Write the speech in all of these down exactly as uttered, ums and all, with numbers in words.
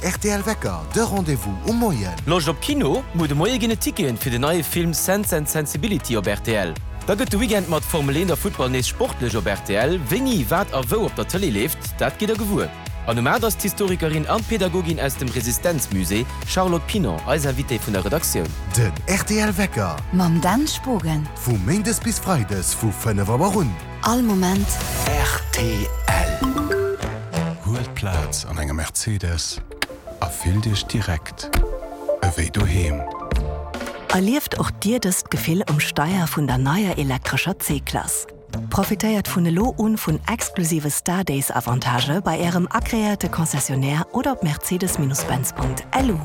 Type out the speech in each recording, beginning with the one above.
Rtl Wecker, de Rendez-vous um Moien. Loscht op Kino? Muer de Moie ginn et Ticketen fir den neie Film Sense and Sensibility op rtl. Da gëtt de Weekend mat Formel eent a Futtball nees sportlech op rtl. Wéini, wat a wou op der Tëlee leeft, dat gitt der gewuer. An um aacht ass d'Historikerin an Pädagogin aus dem Resistenzmusée, Charlotte Pinon, eis Invitée vun der Redaktioun. Den rtl Wecker. Mam Dan Spogen. Vu méindes bis freides vu fënnef Auer un. All Moment. Rtl. Huelt Plaz an engem Mercedes a fillt Iech direkt ewéi doheem. Erlieft och Dir dëst Gefill um Steier vun der neier elektrescher C-Klass. Profitéiert vun elo un vun exklusive Star Days Avantagë bei Ärem agreéierte Concessionnaire oder op mercedes-benz Punkt L U.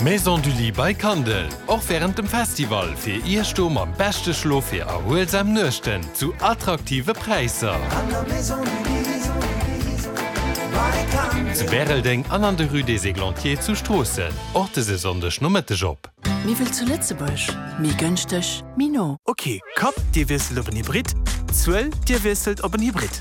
Maison du Lit by Kandel, och wärend dem Festival fir Iech do mam beschte Schlof fir erhuelsam Nuechten zu attraktive Präisser. Zu Bäreldeng an an der Rue des Églantiers zu Stroossen. Och dëse Sonndeg Nomëtteg op. Méi wéi zu Lëtzebuerg, méi gënschteg, méi no. Ok, Kapp, Dir wiesselt op en Hybrid, Zuel, Dir wiesselt op en Hybrid.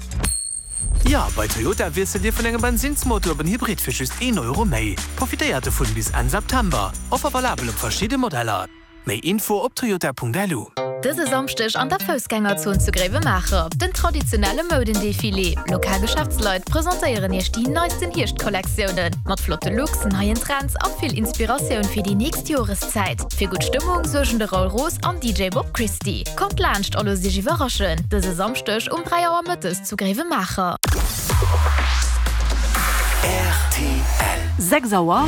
Ja, bei Toyota wiesselt Dir vun engem Bensinnsmotor op en Hybrid fir just een Euro méi. Profitéiert dovun bis Enn September. Offer valabel op verschidde Modeller. Méi Info op toyota Punkt L U. Dëse Samschdeg an der Foussgängerzon zu Gréiwemaacher den traditionelle Moudendefilé. Lokal Geschäftsleit presentéieren iech déi neisten Hierschtkollektiounen mat flotte Looks, neien Trends a vill Inspiratioun fir déi nächst Joreszäit. Fir gutt Stëmmung suergen de Raoul Roos an D J Bob Christie. Kommt laanscht a loosst iech iwwerraschen. Dëse Samschdeg um dräi Auer mëttes zu Gréiwemaacher. R T L. Sechs Auer.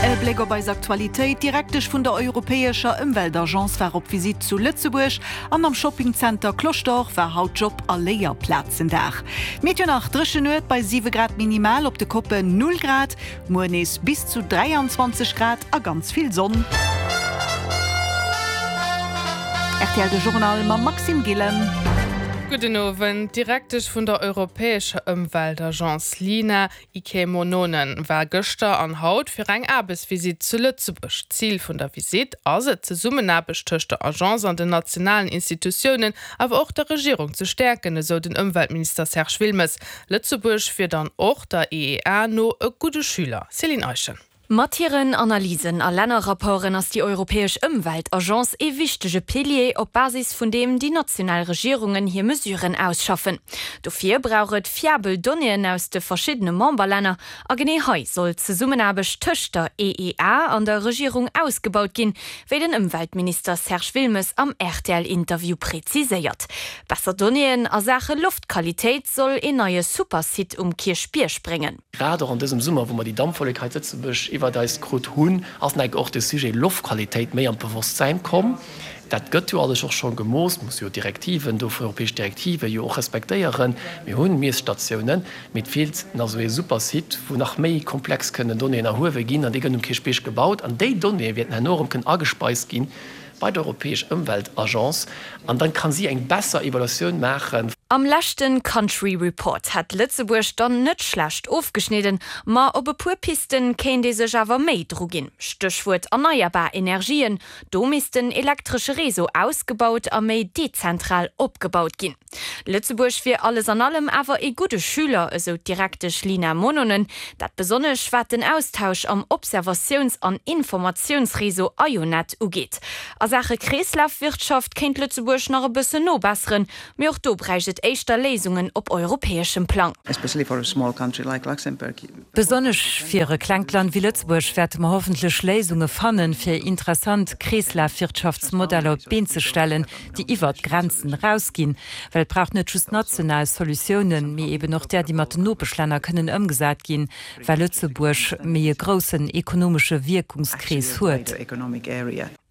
E Bléck op eis Aktualitéit. D'Direktesch vun der Europäescher Ëmweltagence war op Visitt zu Lëtzebuerg an am Shoppingzenter Cloche d'Or war haut Job- a Léierplazendag. Meteo nach: dréchen Nuet bei siwe Grad minimal, op de Koppen null Grad, muer nees bis zu dräianzwanzeg Grad a ganz vill Sonn. R T L de Journal mam Maxime Gillen. Gudden Owend. D'Direktesch vun der Europäescher Ëmweltagence Leena Ike-Mononen war gëschter an haut fir eng Aarbechtsvisitt zu Lëtzebuerg. Zil vun der Visitt ass et, d'Zesummenaarbecht tëscht der Agence an den nationalen Institutiounen, awer och der Regierung ze stäerken, esou den Ëmweltminister Serge Wilmes. Lëtzebuerg wier dann och der E E A no e gudde Schüler. Céline Eischen. Mat hiren Analysen a Lännerrapporten ass déi Europäesch Ëmweltagence e wichtege Pilier, op Basis vun deem déi national Regierungen hir Mesuren ausschaffen. Dofir brauch et fiabel Donnéeën aus de verschiddene Memberlänner a genee hei soll d'Zesummenaarbecht tëscht der E E A an der Regierung ausgebaut ginn, wéi den Ëmweltminister Serge Wilmes am R T L-Interview preziséiert. Besser Donnéeën a Saache Loftqualitéit soll en neie Supersite um Kierchbierg bréngen. Grad och an dësem Summer, wou mer déi Dampwollek hei zu Lëtzebuerg iwwer eis krut hunn, ass och de Sujet Loftqualitéit méi an d'Bewosstsäin komm. Dat gëtt jo alles och scho gemooss, muss jo Direktiven do vun europäesch Direktive jo och respektéieren. Mir hunn Miesstatiounen, mee et feelt nach sou e Supersite, wou nach méi komplex kënnen Donnéeën erhuewe ginn an déi gëtt um Kierchbierg gebaut an déi Donnéeë wäerten herno erëm kënnen agespeist ginn bei der Europäesch Ëmweltagence an dann kann si eng besser Evaluatioun maachen. Am leschten Country Report hat Lëtzebuerg dann net schlecht ofgeschnidden, ma op e puer Pisten kéint ee sech awer méi dru ginn. Stéchwuert erneierbar Energien, do misst den elektresche Réseau ausgebaut a méi dezentral opgebaut ginn. Lëtzebuerg wier alles an allem awer e gudde Schüler, esou d'Direktesch Leena Mononen, dat besonnesch wat den Austausch am Observatiouns- an Informatiounsréseau EIONET ugeet. A Saache Kreeslafwirtschaft kéint Lëtzebuerg nach e bëssen nobesseren, mee och do bräicht et éischter Léisungen op europäeschem Plang. Besonnesch fir e klengt Land wéi Lëtzebuerg wäerte mer hoffentlech Léisunge fannen, fir interessant Kreeslafwirtschaftsmodeller op d'Been ze stellen, déi iwwer d'Grenzen erausginn, well et brauch net just national Solutiounen, mee eben och där, déi mat den Nopeschlänner kënnen ëmgesat ginn, well Lëtzebuerg méi e groussen ekonomesche Wierkungskrees huet.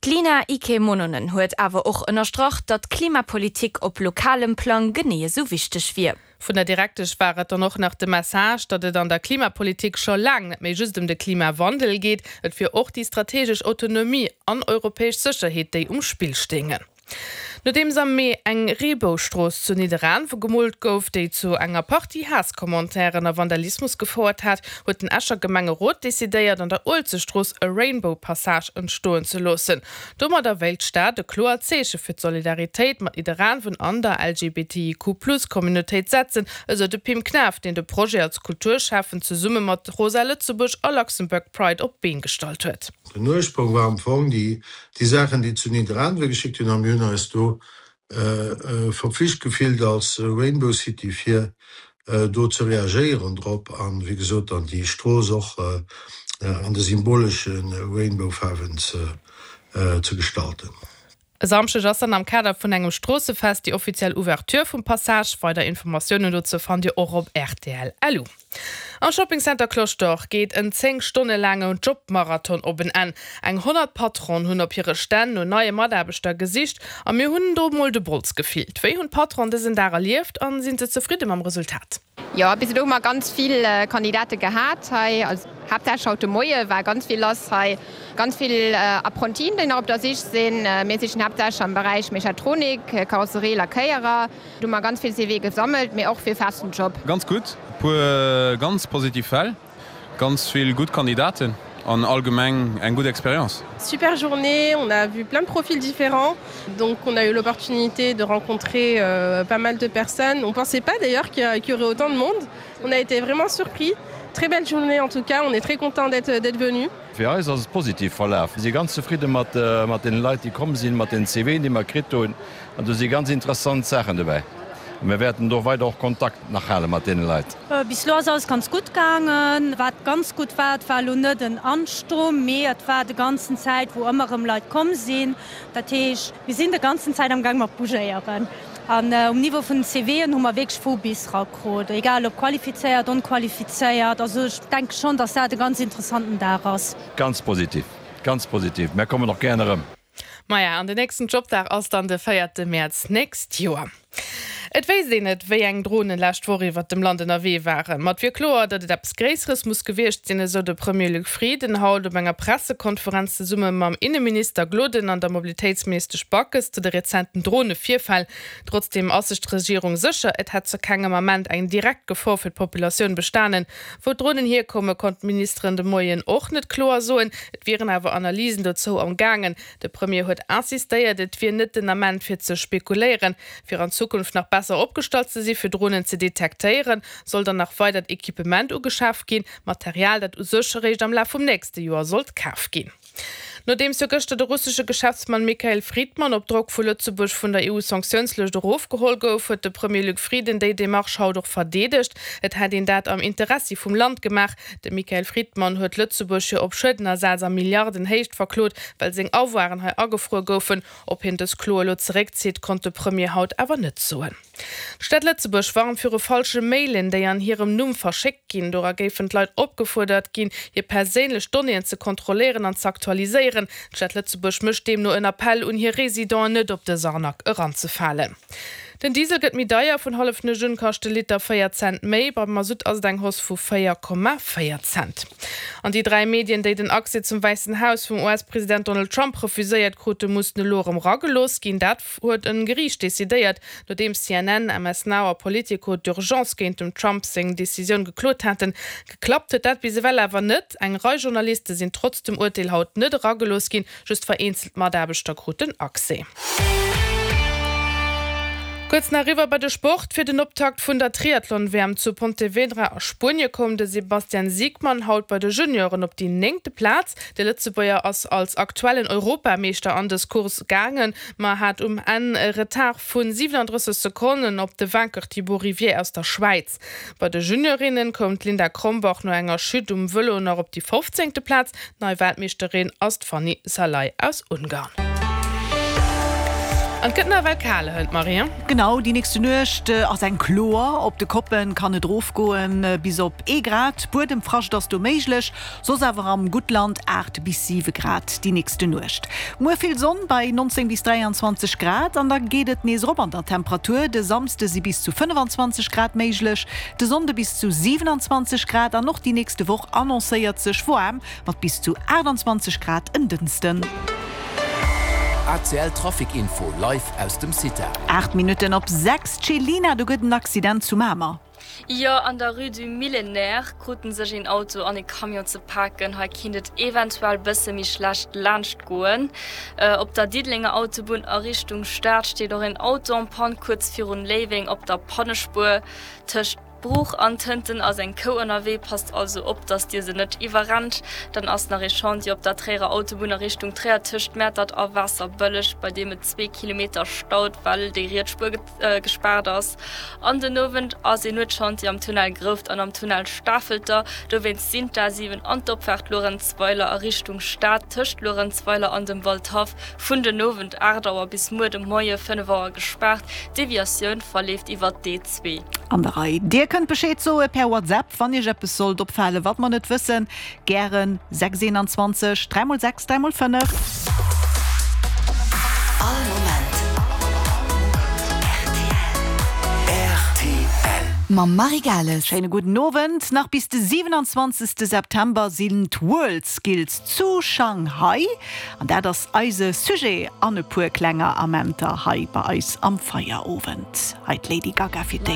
D'Leena Ike-Mononen huet awer och ënnerstrach, datt Klimapolitik op lokalem Plang genee sou wichteg wier. Vun der Direktesch war et dann och nach de Message, datt et an der Klimapolitik scho laang net méi just ëm de Klimawandel geet, et wier och déi strategesch Autonomie an europäesch Sécherheet, déi um Spill stéingen. Nodeems am Mee eng Reeboustrooss zu Nidderaanwe gemoolt gouf, déi zu enger Partie Haasscommentairen a Vandalismus gefouert hat, huet den Escher Gemengerot decidéiert, an der Uelzechtstrooss e Rainbow Passage entstoen ze loossen. Domadder wéilt d'Stad e kloert Zeeche fir d'Solidaritéit mat Nidderaanwen an der LGBTIQ-Plus-Communautéit setzen, esou de Pim Knaff, deen de Projet als Kulturschäffen zesumme mat Rosa Lëtzebuerg a Luxembourg Pride op d'Been gestallt huet. Den Ursprong war am Fong déi, déi Saachen, déi zu Nidderaanwe geschitt hunn, a mir hunn eis do verpflicht gefillt als Rainbow City fir do ze reagéieren drop an, wéi gesot, dann déi Strooss och an de symbolesche Rainbow-Faarwen ze gestalten. E Samschdeg ass dann am Kader vun engem Stroossefest déi offiziell Ouverture vum Passage. Weider Informatiounen dozou fannt Dir och op rtl. Lu. Am Shopping Center Cloche d'Or geet en zéng Stonne laangen Jobmarathon op en Enn. Eng honnert Patronen hunn op hire Stänn no neie Mataarbechter gesicht a mir hunn do mol de Bols gefillt. Wéi hunn d'Patronen dësen Dag erlieft a sinn se zefridde mam Resultat? Jo, bis elo hu mer ganz vill Kandidate gehat hei. Also haaptsächlech haut de Moie war ganz vill lass hei. Ganz vill Apprentien, déi nach op der Sich sinn. Mir sichen haaptsächlech am Beräich Mechatronik, Karosserie, Lackéierer. Do hu mer ganz vill CVe gesammelt, mee och fir festen Job. Ganz gutt, e puer ganz positiv Fäll, ganz vill gutt Kandidaten an allgemeng eng gutt Experience. Super journée, on a vu plein de profils différents, donc on a eu l'opportunité de rencontrer pas mal de personnes. On pensait pas d'ailleurs qu'il y aurait autant de monde. On a été vraiment surpris. Très belle journée en tout cas, on est très content d'être d'être venu. Fir eis ass et positiv verlaf. Mir si ganz zefridde mat mat deene Leit, déi komm sinn, mat den CVen, déi mer kritt hunn. An do si ganz interessant Saachen dobäi. A mir wäerten do weider och Kontakt nach hale mat deene Leit. Bis elo ass alles ganz gutt gaangen. Wat ganz gutt war, et war elo net en Ansturm, mee et war de ganzen Zäit, wou ëmmer erëm Leit komm sinn. Dat heescht, mir sinn de ganzen Zäit am Gaang mat bougéieren. An um Niveau vun den CVen hu mer wierklech vu bis rakrut, egal ob qualifizéiert, onqualifizéiert. Also ech denke schonn, dass dat e ganz interessanten Dag ass. Ganz positiv, ganz positiv. Mär kommen och gären erëm. Maja, an den nächsten Jobdag ass dann de véierte Mäerz nächst Joer. Et wéisst een net, wéi eng Dronen lescht Woch iwwert dem Land ënnerwee waren. Ma et wier kloer, datt et eppes Gréisseres muss gewiescht sinn, esou de Premier Luc Frieden haut op enger Pressekonferenz zesumme mam Inneminister Gloden an der Mobilitéitsministesch Backes zu de rezenten Dronevirfäll. Trotzdeem ass sech d'Regierung sécher, et hätt zu kengem Ament eng direkt Gefor fir d'Populatioun bestanen. Wou d'Dronen hierkomme konnt d'Ministeren de Moien och net kloer soen. Et wieren awer Analysen dozou am gaangen. De Premier huet insistéiert, et wier net den Ament fir ze spekuléieren. Fir an Zukunft nach besser opgestallt ze si fir Dronen ze detektéieren, soll dann nach weidert Equipement ugeschaf ginn, Material dat u sech eréischt am Laf vum nächste Joer sollt kaf ginn. Nodeems jo gëschter de russesche Geschäftsmann Mikhail Fridman op Drock vu Lëtzebuerg vun der EU-Sanktiounslëscht erofgeholl gouf, huet de Premier Luc Frieden déi Demarche haut och verdeedegt. Et hätt een dat am Interessi vum Land gemaach. De Mikhail Fridman huet Lëtzebuerg jo op Schuedenersaz a Milliardenhéicht verklot, well seng Avoiren hei agefruer goufen. Ob hien dës Klo elo zeréckzitt, konnt de Premier haut awer net soen. D'Stad Lëtzebuerg warnt viru falsche Mailen, déi an hirem Numm verschéckt ginn. Dora géifen d'Leit opgefuerdert ginn, hir perséinlech Donnéeën ze kontrolléieren an z'aktualiséieren. D'Stad Lëtzebuerg mécht deemno en Appell un hir Residenten, net op dës Arnaque eranzefalen. Den Diesel gëtt méi deier, vun hallef un kascht de Liter véier Cent méi, beim Masutt ass et eng Hausse vu véier Komma véier Cent. An déi dräi Medien, déi den Accès zum Wäissen Haus vum US-President Donald Trump refuséiert krute, mussen elo erëm eragelooss ginn. Dat huet e Geriicht decidéiert, nodeems C N N, M S Now a Politico d'urgence géint dem Trump seng Decisioun geklot haten. Geklappt huet dat bis ewell awer net. Eng Rei Journaliste sinn trotz dem Urteel haut net eragelooss ginn, just vereenzelt Mataarbechter kruten Accès. Kuerz nach eriwwer bei de Sport, Fir den Optakt vun der Triathlon-W M zu Pontevedra a Spuenie koum de Sebastian Siegmann haut bei de Junioren op déi néngte Plaz. De Lëtzebuerger ass als aktuellen Europameeschter an dës Course gaangen, ma hat um Enn e Retard vu siwenandrësseg Sekonnen op de Vainqueur Thibaut Rivier aus der Schwäiz. Bei de Juniorinnen koum d'Linda Krombach no enger Chute um Vëlo nach op déi fofzéngte Plaz. Nei Weltmeeschterin ass d'Fanny Szalai aus Ungarn. An et gëtt nawell kal hënt, Marie. Genau, déi nächste Nuecht ass eng kloer. Op de Koppen kann et erofgoen bis op ee Grad, Buedemfrascht ass do méiglech, soss awer am Guttland aacht bis siwe Grad déi nächste Nuecht. Muer vill Sonn bei nonzéng bis dräianzwanzeg Grad an da geet et nees erop an der Temperatur. De Samsde si bis zu fënnefanzwanzeg Grad méiglech, de Sonnde bis zu siwenanzwanzeg Grad an och déi nächste Woch annoncéiert sech waarm mat bis zu aachtanzwanzeg Grad en Dënschden. ACL Trafic Info live aus dem CITA. Aacht Minutten op sechs, Céline, do gëtt en Accident zu Mamer. Jo, an der Rue du Millénaire kruten sech een Auto an e Camion ze paken. Hei kinnt et eventuell bësse méi schlecht laanscht goen. Op der Diddelenger Autobunn a Richtung Stad steet och een Auto en panne kuerz virun Léiweng op der Pannespuer. Tëscht Bruch an Tënten ass eng Kou ënnerwee, passt also op, dass dir se net iwwerrennt. Dann ass nach ee Chantier op der Tréierer Autobunn a Richtung Tréier tëscht Mäertert a Waasserbëlleg, bei deem et zwee Kilometer staut, well déi riets Spuer gespaart ass. An den Owend ass een Nuetschantier am Tunnel Grouft an am Tunnel Stafelter. Dowéinst sinn d'A siwen an d'Opfaart Luerenzweiler a Richtung Stad tëscht Luerenzweiler an dem Waldhaff vun den Owend aacht Auer bis muer de Moie fënnef Auer gespaart. D'Deviatioun verleeft iwwer d'E zwee. An der Rei. Dir kënnt Bescheed soe per WhatsApp, wann Iech eppes sollt opfalen, wat mer net wëssen. Gären sechs eenanzwanzeg dräi mol sechs dräi mol fënnef. All Moment rtl. Mam Marie Gales. Schéine gudden Owend. Nach bis de siwenanzwanzegste September sinn d'Worldskills zu Shanghai. An dat ass eise Sujet an e puer klenger Amenter hei bei eis am Feierowend. Hei d'Lady Gaga fir d'éischt.